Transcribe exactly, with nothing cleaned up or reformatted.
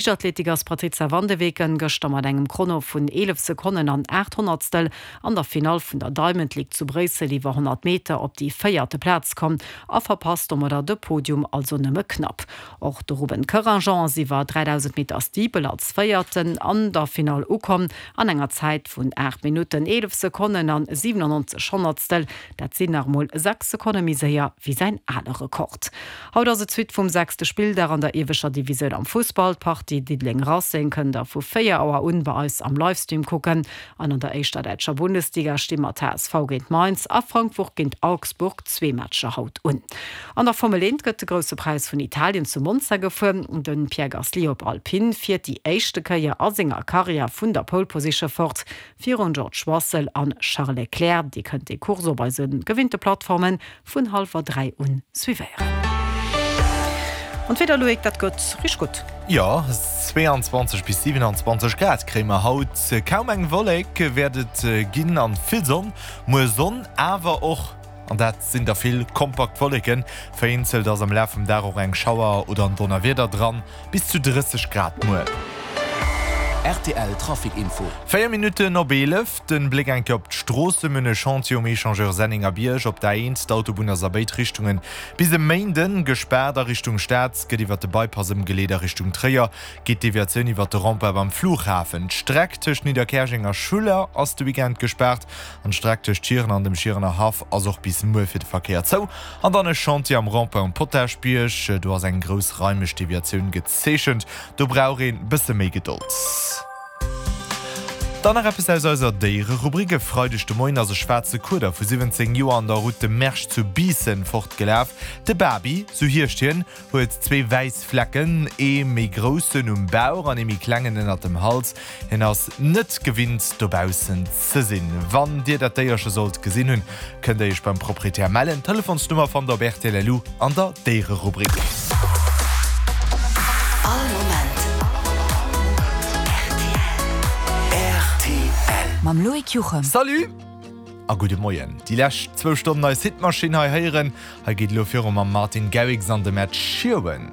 Liichtathletik ass d'Patrizia van de Weken gëschter mat engem Chrono vun eelef Sekonnen an aacht Honnertstel an der Finall vun der Diamond League zu Bréissel iwwer honnert Meter op déi véierte Plaz komm a verpasst domadder de Podium also nëmme knapp. Och de Ruben Koerangent ass iwwer dräidausend Meter Steeple als Véierten an der Finall ukomm an enger Zäit vun aacht Minutten, eelef Sekonnen an siwenannonzeg Honnertstel. Dat sinn nach emol sechs Sekonne méi séier wéi säin ale Rekord. Haut ass et d'Suite vum sechste Spilldag an der ieweschter Divisioun am Fussball. D'Partie Diddeleng-Racing kënnt der vu véier Auer un bei eis am Livestream kucken. An an der éischter däitscher Bundesliga sti mat H S V géint Mainz a Frankfurt géint Augsburg zwee Matcher haut un. An der Formel eent gëtt de Grousse Präis vun Italien zu Monza gefuer. De Pierre Gasly op Alpine fiert déi éischte Kéier a senger Karriär vun der Pole Position fort, virun George Russell an Charles Leclerc. Dir kënnt déi Course op eise gewinnte Plattforme vun hallwer dräi un suivéieren. An d'Wieder, Loïc, dat gëtt richteg gutt. Jo, zweeanzwanzeg bis siwenanzwanzeg Grad kréie mer haut. Kaum eng Wollek wäert et ginn an vill Sonn. Muer Sonn, awer och, an dat sinn der vill, kompakt Wolleken. Vereenzelt ass am Laf vum Dag och eng Schauer oder en Donnerwieder dran. Bis zu drësseg Grad muer. R T L Trafic Info. Véier Minutten op eelef, den Bléck eng Kéier op d'Stroosse, Mir hunn e Chantier um Echangeur Sennengerbierg op der A eent. D'Autobunn ass a béid Richtungen bis e Méinden gespaart. A Richtung Stad gëtt iwwert de Bypass ëmgeleet, a Richtung Tréier geet d'Deviatioun iwwert de Rond-point beim Flughafen. D'Streck tëscht Nidderkäerjeng a Schuller ass de Weekend gespaart an d'Streck tëscht Schieren an dem Schierener Haff ass och bis muer fir de Verkéier zou. An dann e Chantier am Rond-point um Potaschbierg, do ass eng groussraimeg Deviatioun gezeechent, do brauch een bësse méi Gedold. Dann nach eppes aus eiser Déiererubrik, E Freideg de Moien ass e schwaarze Kueder vu siwwenzéng Joer an der Route de Mersch zu Biissen fortgelaf. De Babi, sou heescht hien, huet zwee wäiss Flecken, ee méi groussen um Bauch an ee méi klengen ënnert dem Hals. Hien ass net gewinnt dobaussen ze sinn. Wann dir dat Déierche sollt gesinn hunn, kënnt der iech beim Proprietär mellen. D'Telefonsnummer fannt der op rtl.lu an der Déiererubrik. All Moment R T L. Mam Loïc Juchem. Salut a gudde Moien. Déi lescht zwou Stonnen eis Hitmaschinn hei héieren. Hei geet elo viru mam Martin Garrix an dem Ed Sheeran.